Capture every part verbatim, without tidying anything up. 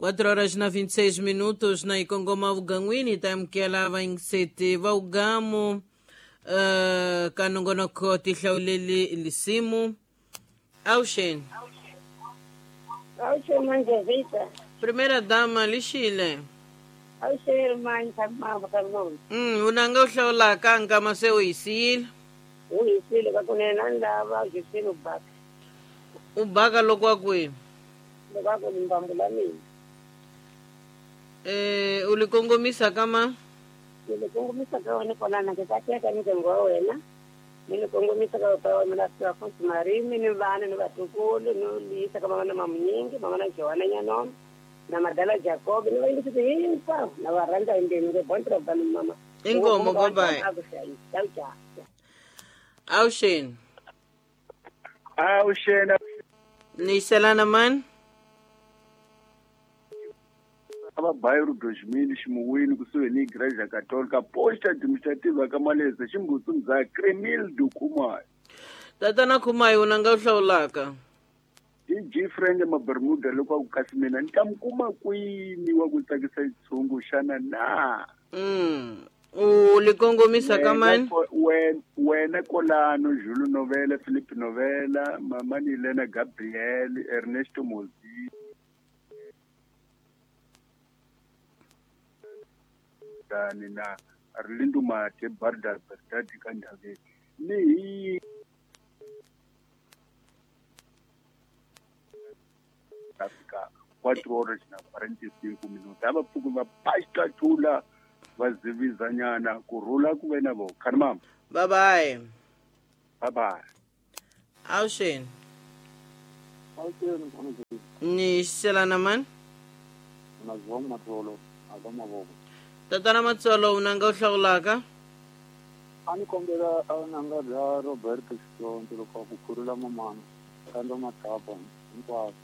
quatro horas na vinte e seis minutos na Ikongoma Uganguini, tamkela vainsete va ugamu uh, kanongonoko tihlauleli lisimu. Auxen. Auxen, Manjevita. Primeira dama lixile. Auxen, irmã, tamava kalmon. Mm, unanga uhlaula kanga mase uyisile. Uyisile kakunena ndaba ujisile ubaka. Ubaka lokwa kwihi? Lokwa limbambu la mina. Eh, ulikongomisa kama? Nilikongomisa ka wena kolana ke ka ni ngo wena. Nilikongomisa ka pa wena la Afonso Marimi ni vana ni vatukulu ni lisa ka mama na mamunyingi mama na Joana Nyanom na Madala Jacob ni vaindisi hinkwavo na va rhandza hinkwenu ke bon trabalho mama. Inkomo goodbye. Auxen. Auxen. Ni man. Aba bairro dois mil ximuwini kusuhi ni Igreja Católica posta administrativa ka Maleza ximbutsu Cremildo Khumalo. Tatana Khumalo unanga u hlawulaka. D G Frank Mabermuda loko ku kasi mina ni ta mi kuma kwini wa ku tsakisa xitshungu xana na. Mm. U likongomisa ka mani? Wena Kolano, Jules Novela, Philippe Novela, Mama Nilena Gabriel, Ernesto Mozi. Na Arlindo Mate Barda Berdadi Kandave ni Africa quatro horas na quarenta e cinco minutos aba pfuku va pasta thula va zivizanyana kurhula ku ve na vo khani mama. Bye bye. Bye bye. Auxen. Ni selana man? Na zong matolo agama. Tatana Matsolo unanga u hlawulaka? A ni kombela nanga bya Roberto Xitsonto loko ku khurula mamana kanda mathapa hinkwaswo.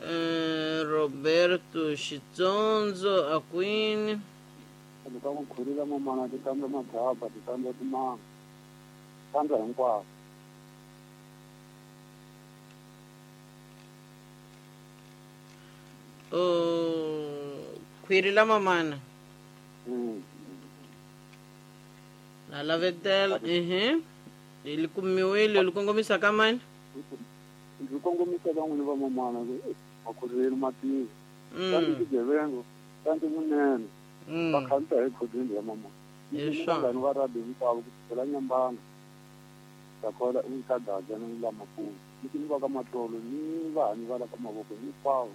Eh, Roberto Xitsonzo akwini. Loko ku khurula mamana ti kanda mathapa ti kanda timanga kanda hinkwaswo. Oh, khwiri la mamana. Mm. Na lavetela, ehe. Likumiwile likongomisa ka mani? Likongomisa ka n'wini va mamana va khuruleni matiko. Kanti xigevengo, kanti munene. Va khandziya hi khodweni ya mamana. Vanghani va rabi hinkwavo ku sukela Nyambana. Takola i ka Gaza ni la Maputo. Ni va ka Matlolo ni vanhu va la ka mavoko hinkwavo.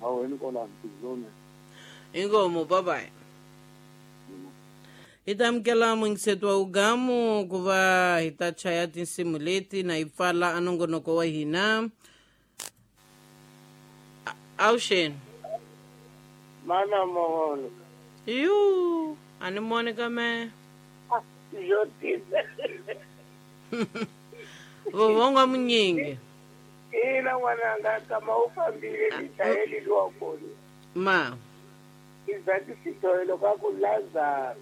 Na wena kolani tizone. Inkomo, bye bye. Hi ta amukela muyingiseti wa ugamu ku va hi ta chaya tinsimu leti na hi pfala a nongonoko wa hina. Auxen. Mana moholo. Yu, a ni moni ka me. Yo tisa. Vovonga munyingi. Ina n'wananga kama u fambile ni chayeli luwa kona. Ma. Izaki sitoelo ka ku Lazaro.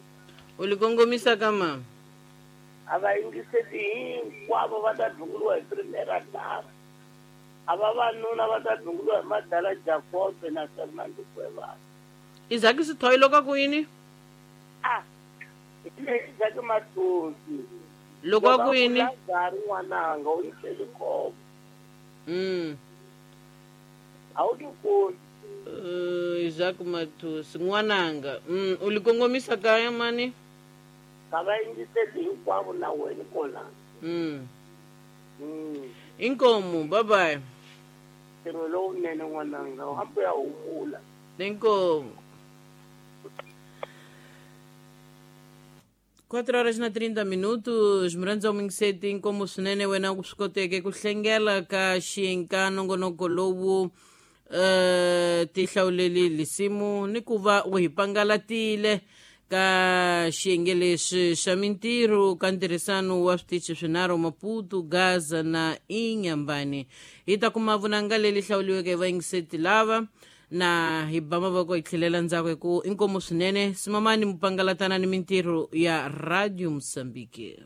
Ulikongomisa kama? A va yingiseli hinkwavo va ta dlunguliwa hi primera dama. A vavanuna va ta dlunguliwa hi Madala Jacob na Fernando Cuevas. Izaki sitoelo ka ku yini? Ah, Izaki Matosi. Loko ku yini? Lazaro n'wananga u yiseli khombo. Mm. A wu tikoni. Uh, Isaac Matusi n'wananga. Mm, ulikongomisa kaya mani? Ka va yingiseli hinkwavo na wena kona. Mm. Mm. Inkomo, bye bye. Ntirho lowunene n'wananga, u hambi u ya humula. Inkomo. quatro horas na trinta minutos, murandza mingiseti inkomo swinene wena ku swi koteke ku hlengela ka xiyenge nongonoko lowu uh, tihlawuleli lisimu ni ku va u hi pangalatile ka xiyenge lexi xa mintirho ka ntirhisano wa switichi swinharhu Maputo, Gaza na Inhambane. Hi ta kuma vunanga leli hlawuliweke hi vayingiseti lava na hi ba mavoko hi tlhelela ndzhaku hi ku inkomo swinene simamani mupangalatana ni mintirho ya Radio Mozambique.